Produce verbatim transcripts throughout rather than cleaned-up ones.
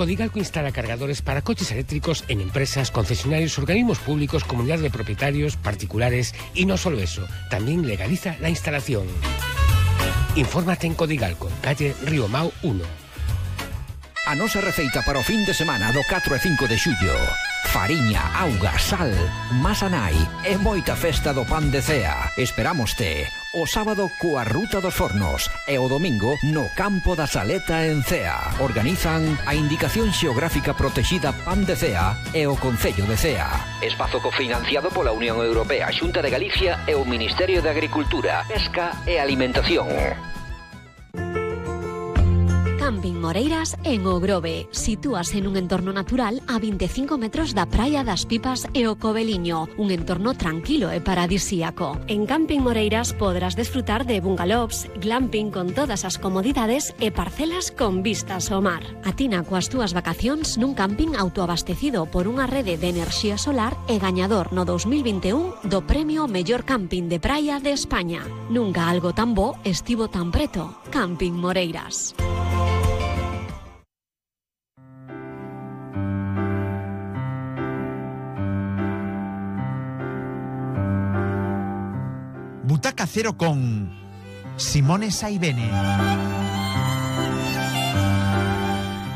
Codigalco instala cargadores para coches eléctricos en empresas, concesionarios, organismos públicos, comunidades de propietarios, particulares y no solo eso, también legaliza la instalación. Infórmate en Codigalco, calle Río Mau uno. A nosa receita para o fin de semana do catro e cinco de xullo: fariña, auga, sal, masa nai e moita festa do pan de cea. Esperámoste o sábado coa Ruta dos Fornos e o domingo no Campo da Saleta en Cea. Organizan a Indicación Xeográfica Protexida Pan de Cea e o Concello de Cea. Espazo cofinanciado pola Unión Europea, Xunta de Galicia e o Ministerio de Agricultura, Pesca e Alimentación. Camping Moreiras en O Grove. Sitúase nun entorno natural a vinte e cinco metros da Praia das Pipas e o Coveliño, un entorno tranquilo e paradisíaco. En Camping Moreiras podrás desfrutar de bungalows, glamping con todas as comodidades e parcelas con vistas ao mar. Atina coas túas vacacións nun camping autoabastecido por unha rede de enerxía solar e gañador no dos mil vinte e un do premio Mellor Camping de Praia de España. Nunca algo tan bo estivo tan preto. Camping Moreiras. Butaca Cero con Simone Saibene.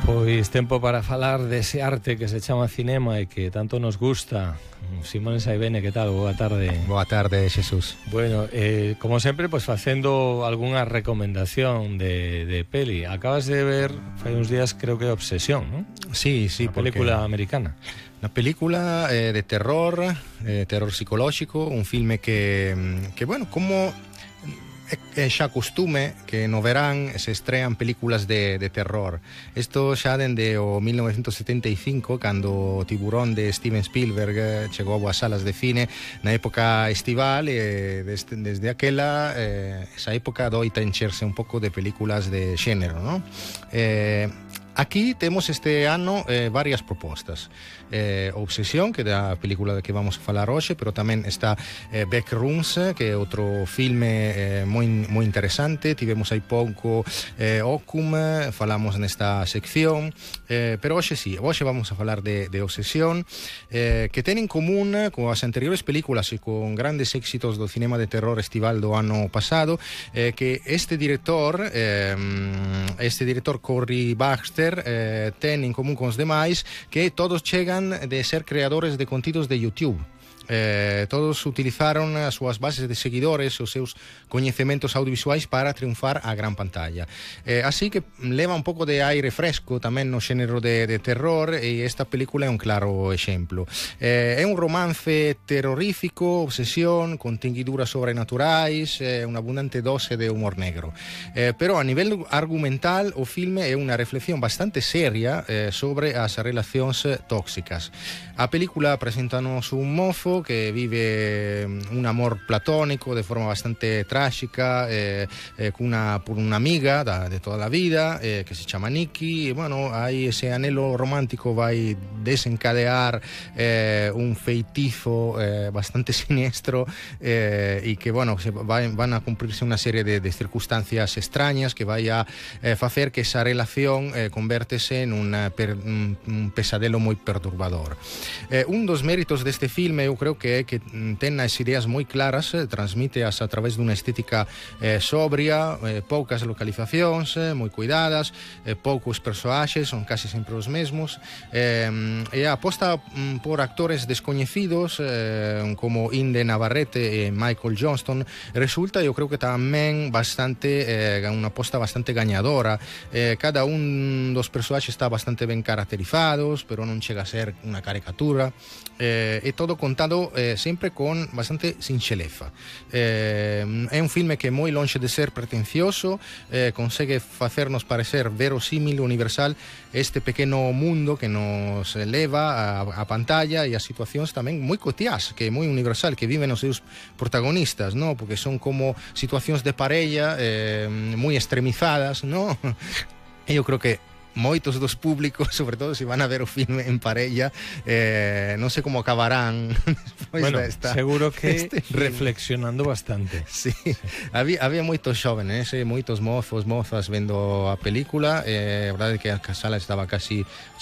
Pois tempo para falar dese arte que se chama cinema e que tanto nos gusta. Simone Saibene, que tal? Boa tarde. Boa tarde, Xesús. Bueno, eh, como sempre, pois facendo algunha recomendación de, de peli. Acabas de ver, fai uns días, creo que Obsesión, non? Sí, sí. Una película americana. Una película eh, de terror, eh, terror psicolóxico, un filme que, que bueno, como é xa costume que no verán se estrean películas de, de terror. Isto xa dende o mil novecentos setenta e cinco, cando o Tiburón de Steven Spielberg chegou ás salas de cine na época estival, e desde, desde aquela eh, esa época doita encherse un pouco de películas de xénero, ¿no? Eh, Aquí temos este ano eh, varias propostas. Eh, Obsesión, que é a película de que vamos a falar hoxe, pero tamén está eh, Backrooms, que é outro filme eh, moi, moi interesante. Tivemos hai pouco eh, Ocum, falamos nesta sección, eh, pero hoxe sí, hoxe vamos a falar de, de Obsesión, eh, que ten en común con as anteriores películas e con grandes éxitos do cinema de terror estival do ano pasado, eh, que este director, eh, este director Cory Baxter, Eh, ten en común con os demais que todos chegan de ser creadores de contidos de YouTube. Eh, todos utilizaron as súas bases de seguidores, os seus coñecementos audiovisuais para triunfar a gran pantalla. Eh, así que leva un pouco de aire fresco tamén no xénero de, de terror, e esta película é un claro exemplo. Eh, é un romance terrorífico, obsesión, con tinguiduras sobrenaturais, eh, unha abundante dose de humor negro. Eh, pero a nivel argumental, o filme é unha reflexión bastante seria eh, sobre as relacións tóxicas. A película presentanos un mofo que vive un amor platónico de forma bastante trágica, eh, eh, cunha, por unha amiga da, de toda a vida, eh, que se chama Nikki, e bueno, aí ese anhelo romántico vai desencadear eh, un feitizo eh, bastante siniestro, eh, e que, bueno, se vai, van a cumprirse unha serie de, de circunstancias extrañas que vai a eh, facer que esa relación eh, convértese en una per, un, un pesadelo moi perturbador. Eh, un dos méritos deste filme, eu creo que é que ten as ideas moi claras, eh, transmíteas a través dunha estética eh, sobria, eh, poucas localizacións, eh, moi cuidadas, eh, poucos persoaxes, son casi sempre os mesmos, eh, e a aposta mm, por actores descoñecidos eh, como Inde Navarrete e Michael Johnston resulta, eu creo que tamén bastante eh, unha aposta bastante gañadora. Eh, cada un dos persoaxes está bastante ben caracterizados, pero non chega a ser unha caricatura, eh, e todo contado Eh, sempre con bastante sinxeleza. Eh, é un filme que é moi lonxe de ser pretencioso, eh, consegue facernos parecer verosímil, universal este pequeno mundo que nos leva a, a pantalla, e as situacións tamén moi cotiás, que é moi universal, que viven os seus protagonistas, ¿no? Porque son como situacións de parella eh, moi extremizadas, ¿no? E eu creo que moitos dos públicos, sobre todo se van a ver o filme en parella, eh, non sei como acabarán despois bueno, desta, seguro que este reflexionando bastante. Sí, sí. Había, había moitos xóvenes, eh, moitos mozos, mozas vendo a película, eh, a verdade é que a sala estaba casi